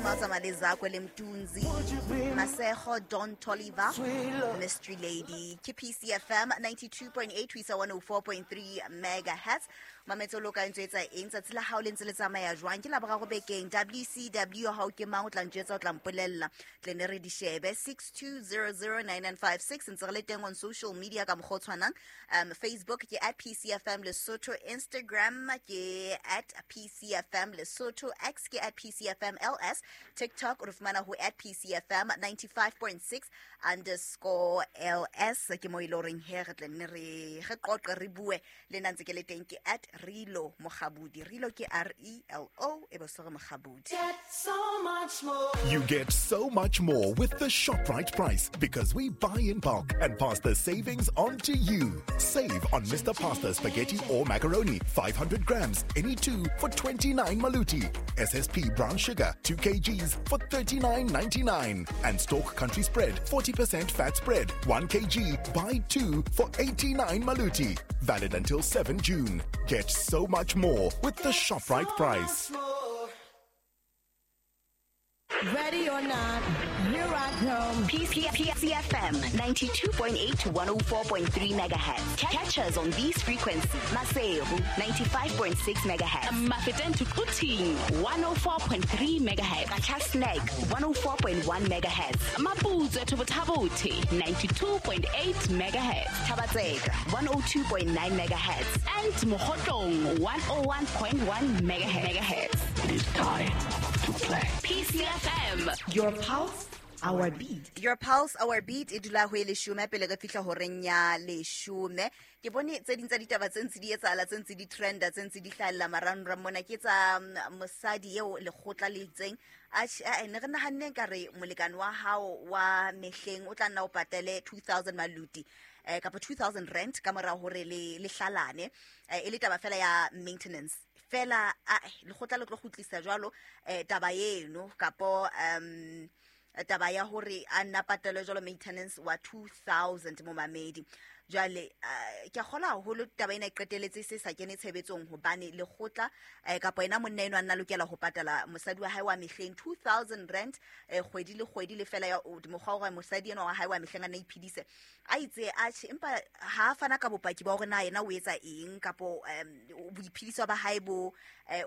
Ba tsamaya le Zakwe le Mtunzi, Masego, Don Toliver, Mystery Lady. Ke PCFM 92.8 ho isa 104.3 megahertz. Mametse o loka ntse etsa eng tsatsi la hao le ntse le tsamaya jwang? Ke laboraro bekeng. WCW hao ke mang o tla ntjwetsa, o tla mpolella, tle ne re di shebe. 62009956 ntse re le teng on social media ka mokgwa o tshwanang. Facebook ke at PCFM Lesotho, Instagram ke at PCFM Lesotho, X ke at PCFM LS, TikTok re fumana ho at PCFM 95.6 underscore LS. Ke mo e le horeng he re tle nne re qoqe, re bue le nna ntse ke le teng. Ke at Relo Mokgabudi. Relo ke R E L O, e be se re Mokgabudi. Get so much more. You get so much more with the ShopRite price because we buy in bulk and pass the savings on to you. Save on Mr. Pasta spaghetti or macaroni, 500 grams, any two for 29 maluti. SSP brown sugar, 2 kgs for 39.99. And Stork Country Spread, 40% fat spread, 1 kg, buy two for 89 maluti. Valid until 7 June. Get so much more with the ShopRite price. Ready or not, here I come. PCFM 92.8 to 104.3 megahertz. Catch us on these frequencies. Maseru 95.6 megahertz. Mafeteng to Quthing 104.3 megahertz. Qacha's Nek 104.1 megahertz. Maputswe to Botha-Bothe 92.8 megahertz. Thaba-Tseka 102.9 megahertz. And Mokhotlong 101.1 megahertz. It is time to play. PCFM. Your pulse, our beat. Your pulse, our beat. E dula ho e leshome pele re fihla horeng ya leshome. Ke bone tse ding tsa ditaba tse ntse di etsahala, tse ntse di trenda, tse ntse di hlahella marangrang mona, ke tsa mosadi eo lekgotla le itseng. Atjhe, ne re nahanne ka re molekane wa hao wa mehleng o tla nna o patale 2000 maluti, kapa 2000 rand ka mora hore le hlalane, e le taba fela ya maintenance fela. Lekgotla le tlo kgutlisa jwalo taba eno, kapo taba ya hore a nna patale jwalo maintenance wa 2000 momamedi. Jwale ke a kgolwa haholo taba ena e qetelletse se sa kene tshebetsong, hobane lekgotla, kapa yena monna enwa a nna lokela ho patala mosadi wa hae wa mehleng 2000 rand, kgwedi le kgwedi, le fela ya mokgwa wa hore mosadi enwa wa hae wa mehleng a nna iphedise. A itse atjhe, empa ha a fana ka bopaki ba hore na yena o etsa eng, kapo boiphediso ba hae bo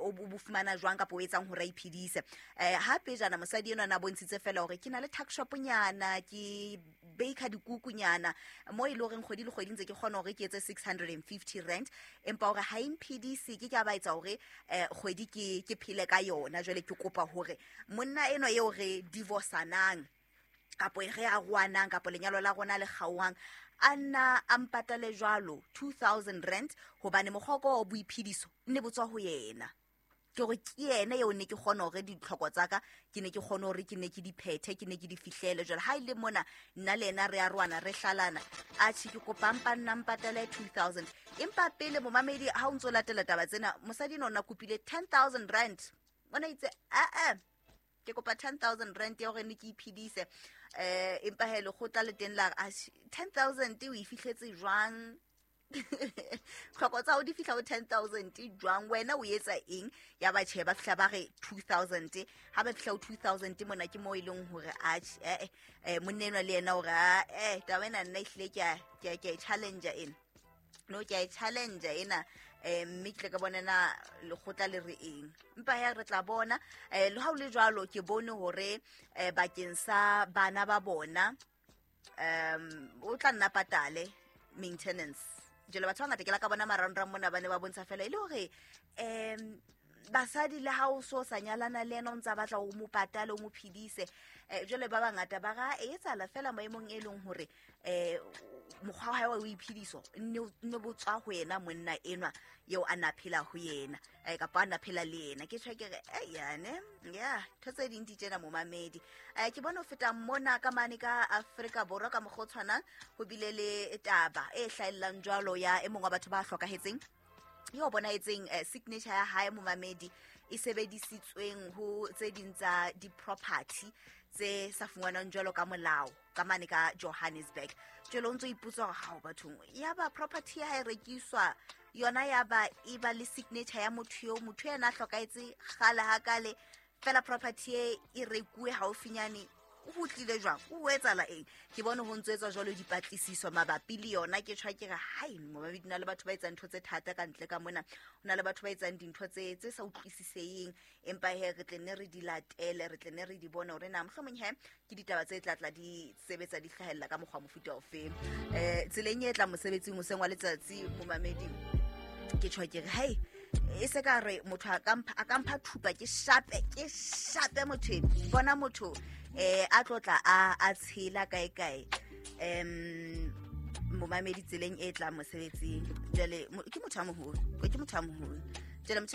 o bo fumana jwang, kapo o etsang hore a iphedise. Ha pejana mosadi enwa na bontshitse fela hore ke na le tuck shop nyana, ke baker dikukunyana mo e le horeng kgwedi le kgwedi ntse ke kgona hore ke etse 650 rand, empa hore ha e mphedise, ke ka ba etsa hore kgwedi ke phele ka yona. Jwale ke kopa hore monna enwa eo re divorsanang, kapo re arohanang, kapo lenyalo la rona le kgaohang, a nna a mpatale jwalo 2000 rand, hobane mokgwa wa ka wa boiphediso nne bo tswa ho yena. Ke hore ke yena eo ne ke kgona hore ditlhoko tsa ka, ke ne ke kgone hore ke ne ke di phethe, ke ne ke di fihlele. Jwale ha e le mona nna le yena re arohana, re hlalana, atjhe ke kopa mpa nna mpatale 2000. Empa pele momamedi ha o ntso latela taba tsena, mosadi ena o na kopile 10000 rand. O na itse, a-a, ke kopa 10000 rand ya hore ne ke iphedise. Empa he lekgotla le teng la re, atjhe, 10000 o e fihletse jwang? Tlhoko tsa hao di fihla ho 10000 jwang? Wena o etsa eng? Ya ba tjhe, ba fihla ba re 2000. Ha ba fihla ho 2000 mona ke moo e leng hore atjhe, monna enwa le yena hore, taba ena nna ehlile ke a e challenge ena. No, ke a e challenge ena, mme ke tle ka bona na lekgotla le re eng. Empa he re tla bona. Le ha ho le jwalo, ke bone hore, bakeng sa bana ba bona, o tla nna patale maintenance. Jwale batho ba bangata ke la ka bona marangrang mona ba ne ba bontsha fela e le hore, basadi le ha o so sa nyalana le yena o ntsa batla o mo patale, o mo phedise. Jwale ba bangata ba ra e etsahala fela maemong e leng hore, mokgwa wa hae wa ho iphediso nne bo tswa ho yena monna enwa eo a na phela ho yena, kapa a na phela le yena. Ke tjho ke re, yane, ya, ntho tse ding di tjena momamedi. Ke bone ho feta mona ka mane ka Afrika Borwa ka mokgwa o tshwanang, ho bile le taba e hlahellang jwalo ya e mong wa batho ba hlokahetseng, eo bonahetseng, signature ya hae momamedi e sebedisitsweng ho tse ding tsa di-property tse sa fumanwang jwalo ka molao ka mane ka Johannesburg. Jwale o ntso ipotsa hore hao bathong, ya ba property ya hae e rekiswa yona, ya ba e ba le signature ya motho eo, motho yena a hlokahetse kgale hakale. Fela property e rekuwe haufinyane, o tlile jwang, o etsahala eng? Ke bone ho ntso etswa jwalo dipatlisiso mabapi le yona. Ke tjhwa ke re hai, momamedi, na le batho ba etsang ntho tse thata ka ntle ka mona, ho na le batho ba etsang dintho tse sa utlwisiseheng, empa he re tle nne re di latele, re tle nne re di bone hore na mohlomong he ke ditaba tse tla tla di sebetsa di hlahella ka mokgwa mofuta ofeng. Tseleng e tla mosebetsing hoseng wa letsatsi, momamedi, ke tjhwa ke re hai, e se ka re motho a ka mpha thupa, ke shape motho eno. Bona motho a tlotla a tshela kae kae, momamedi, tseleng e tlang mosebetsing. Jwale ke motho a moholo, jwale motho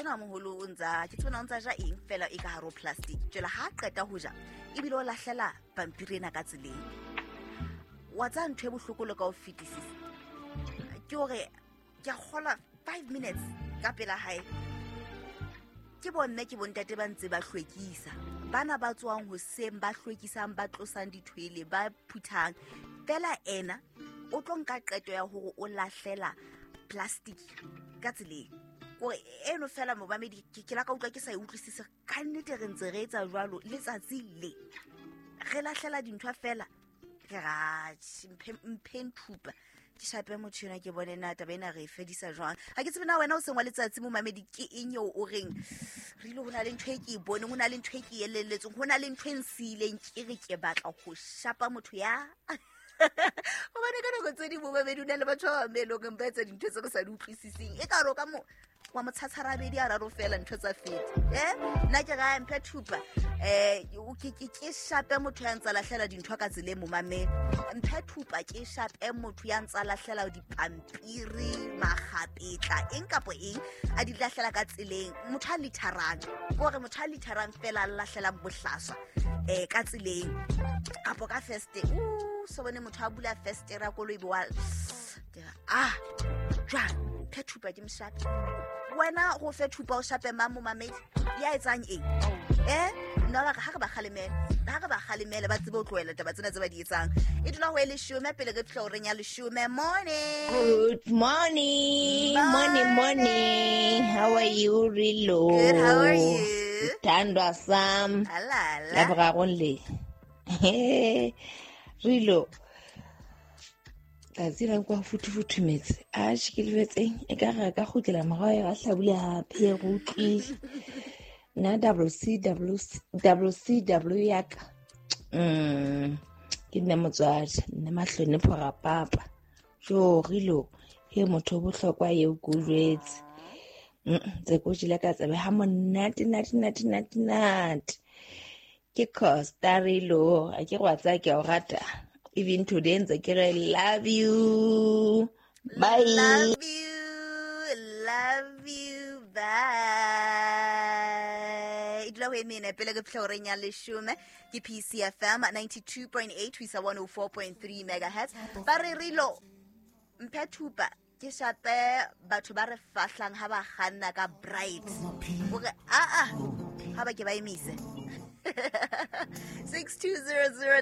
ena wa moholo o ntsa, ke tsebona o ntsa ja eng fela e ka hare ho plastic. Jwale ha qeta ho ja ebile o lahlela pampiri ena ka tseleng. Wa tsa ntho e bohloko le ka ho fetisisa ke hore ke a kgola 5 minutes ka pela hae, ke bomme ke bontate ba ntse ba hlwekisa, bana ba tswang hoseng ba hlwekisang, ba tlosang dithwele, ba phuthang. Fela ena o tlo nka qeto ya hore o lahlela plastic ka tseleng. Kore eno fela momamedi, ke la ka utlwa ke sa e utlwisise. Ka nnete re ntse re etsa jwalo letsatsi le, re lahlela dintho fela, re ra mphe nthupa ke shape motho ena, ke bone na taba ena re e fedisa jwang. Ha ke tsebe na wena o seng wa letsatsi momamedi ke eng eo o reng re ile, ho na le ntho e ke e boneng, ho na le ntho e ke elelletsweng, ho na le ntho e nsiileng ke re ke batla ho shapa motho ya hobane ka nako tse ding momamedi o na le batho ba bang be eleng horeng ba etsa dintho tse re sa di utlwisiseng, e ka re o ka mo wa motshatsharabedi a raro fela ntho tsa feta. Nna ke ra mphe thupa, ke shape motho ya ntsa lahlela dintho ka tseleng momamedi. Mphe thupa ke shape motho ya ntsa lahlela dipampiri, makgapetla, eng kapo eng a di lahlela ka tseleng. Motho a litharang, kore motho a litharang fela a lahlelang bohlaswa ka tseleng kapo ka feste. So bone motho a bula feste ra koloi bo wa jwang, mphe thupa ke moshape. Wena go fe thupa o shape mang momamedi ya etsang eng? Nna ba ha re ba kgalemele, ba tsebe ho tlohela taba tsena tse ba di etsang. E dula ho e leshome pele re fihla horeng ya leshome. Morning. Good morning. Morning. How are you, Rilo? Good, how are you? Thandwa sam. Alala. La borarong le. Rilo. Tsatsi la kwa futhufuthumetse. A ke lebetseng e ka re ka kgutlela morao ya hlabula hape re utlwile. Nna WCW ya ka. Ke nna motswadi, nna mahlonepho rapapa. Jo Rilo, he motho bohlokwa eo ke o jwetse. Tse ko jele ka tsebe ha monate nate nate nate nate. Ke Costa Rilo, a ke re wa tsaya ke a o rata. Even today ntse ke re love you. Bye. Love you. Love you. Bye. E dula ho e mene pele re fihla horeng ya leshome. Ke PCFM 92.8 ho isa 104.3 megahertz. Ba re Rilo mphe thupa ke shape batho ba re fahlang ha ba kganna ka bright. Hore a ha ba ke ba emise. 6200